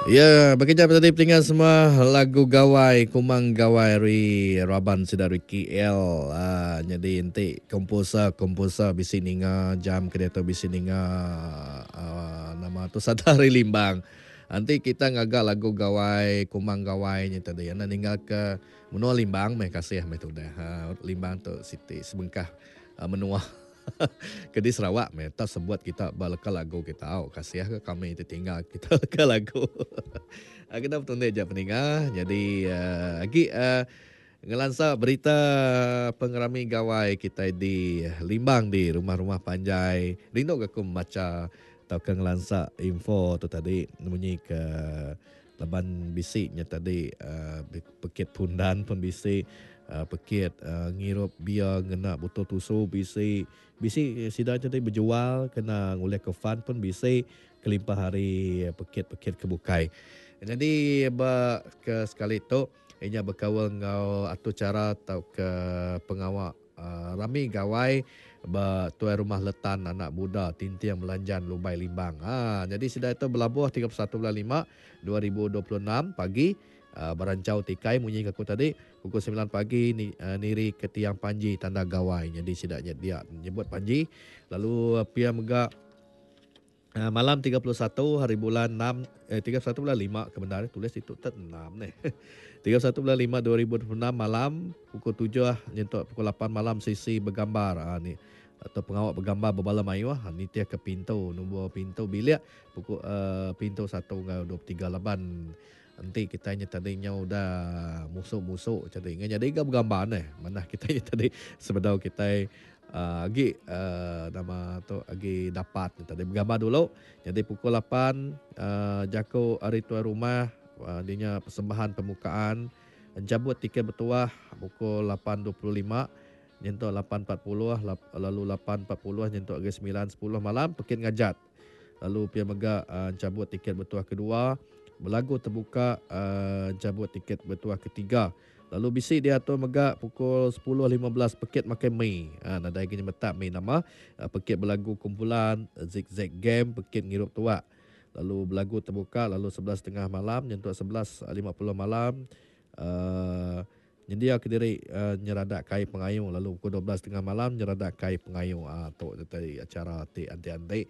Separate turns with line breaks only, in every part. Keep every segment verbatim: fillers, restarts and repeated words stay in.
Ya, bekeja tadi peninga semua lagu Gawai, Kumang Gawai ari raban sida Ricky L. Ah, jadi enti komposer-komposer bisi ninga jam ke diatu bisi ninga uh, nama tu sada ari Limbang. Enti kita ngaga lagu Gawai, Kumang Gawai nya tadi, anda ninggal ke menua Limbang meh kasih meh tu dah. Ha, Limbang tu siti sebengkah uh, menua ke di Sarawak meh tak sebut kita ba leka lagu kita au kasih ke kami ti tinggal kita leka lagu. Kita betundi aja peninga jadi uh, agi uh, ngelansa berita pengerami gawai kita di Limbang di rumah-rumah panjai. Rindu ke aku maca tauka ngelansa info tu tadi munyi ke laban bisi nya tadi uh, pekit pundan pun bisi uh, pekit uh, ngirup bia ngena botol tusu bisi bisi sida tadi berjual kena ngulih ke fun pun bisi kelimpah hari pekit-pekit ke bukai. Jadi ba ke sekali tu inya berkaul enggau atu cara atau ke pengawa uh, rami gawai ba tuai rumah Letan Anak Buda Tinting Melanjan Lubai Limbang. Ha, jadi sida itu berlabuh tiga puluh satu bulan lima dua ribu dua puluh enam pagi uh, berancau tikai munyi aku tadi pukul sembilan pagi ni, uh, niri ke tiang panji tanda gawai. Jadi sida dia nyebut panji lalu uh, pia mega uh, malam tiga puluh satu hari bulan enam eh tiga puluh satu bulan lima kebenaran tulis itu tet enam ni. tiga puluh satu bulan lima dua ribu dua puluh enam malam pukul tujuh nyentuk pukul lapan malam sisi bergambar ha, ni atau pengawak bergambar berbala mayuh ha, ni tiap ke pintu nombor pintu bilik pukul uh, pintu satu ngau dua puluh tiga laban nanti kita nya tadi nya udah musuk-musuk jadi ngan jadi ga bergambar neh mana kita nya tadi sebedau kita uh, agi uh, nama tu agi dapat tadi bergambar dulu. Jadi pukul lapan uh, jako hari tuan rumah uh, dinya persembahan pembukaan cabut tiket bertuah pukul lapan dua puluh lima nyentuk lapan empat puluh lalu lapan empat puluh nyentuk ke sembilan sepuluh malam pekit ngajat. Lalu pia mega uh, cabut tiket bertuah kedua, berlagu terbuka uh, cabut tiket bertuah ketiga. Lalu bisi dia tu mega pukul sepuluh lima belas pekit makan mi. Ha, nadai gini metak mi nama uh, pekit berlagu kumpulan zigzag game pekit ngirup tuak. Lalu berlagu terbuka lalu sebelas setengah malam nyentuk sebelas lima puluh malam uh, nyendia ke diri uh, nyeradak kai pengayu lalu pukul dua belas setengah malam nyeradak kai pengayu. Ah uh, tu tadi acara ti anti-anti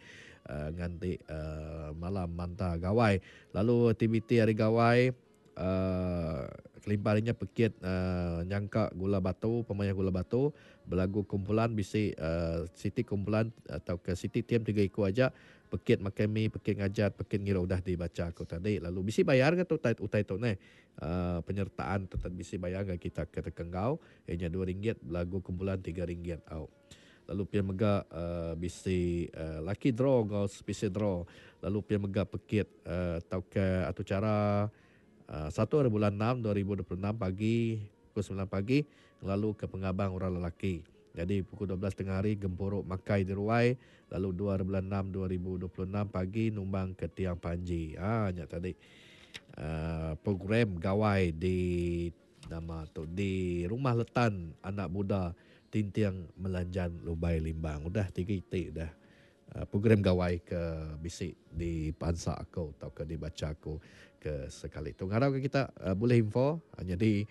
uh, nganti uh, malam manta gawai. Lalu aktiviti hari gawai uh, kelimpahnya pekit uh, nyangka gula batu, pemain gula batu, berlagu kumpulan bisi uh, city kumpulan atau ke city team tiga ikut aja, pekit makan mi, pekit ngajat, pekit ngira udah dibaca aku tadi. Lalu bisi bayar ke tu utai, utai tu ne? Uh, penyertaan tu tadi bisi bayar ke kita ke tekenggau, ianya dua ringgit, berlagu kumpulan tiga ringgit au. Lalu pia mega uh, bisi uh, lucky draw ngau special draw. Lalu pia mega pekit uh, atau ke atau cara Uh, satu hari bulan enam dua ribu dua puluh enam pagi pukul sembilan pagi lalu ke pengabang orang lelaki. Jadi pukul dua belas tengah hari gempuruk makai di ruai lalu dua hari bulan enam dua ribu dua puluh enam pagi numbang ke tiang panji. Ah nya tadi uh, program gawai di nama tu di Rumah Letan Anak Buda Tinting Melanjan Lubai Limbang. Udah tiga itik dah. Uh, program gawai ke bisi di pansa aku atau ke dibaca aku ke sekali tu. Ngarap ke kita uh, boleh info uh, jadi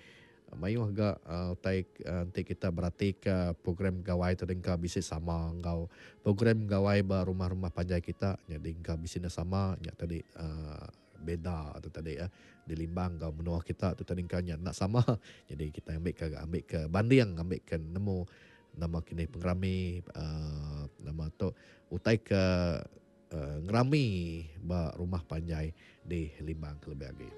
uh, mayuh agak uh, utai uh, nanti kita berarti ke program gawai tu dengka bisi sama ngau program gawai ba rumah-rumah panjai kita jadi dengka bisi na sama nya tadi uh, beda tu tadi ya uh, di Limbang ngau menua kita tu tadi dengka nya nak sama. Jadi kita ambil ke ambil ke banding ambil ke nemu nama kini pengerami uh, nama tu utai ke uh, ngerami ba rumah panjai di Limbang kelebih lagi.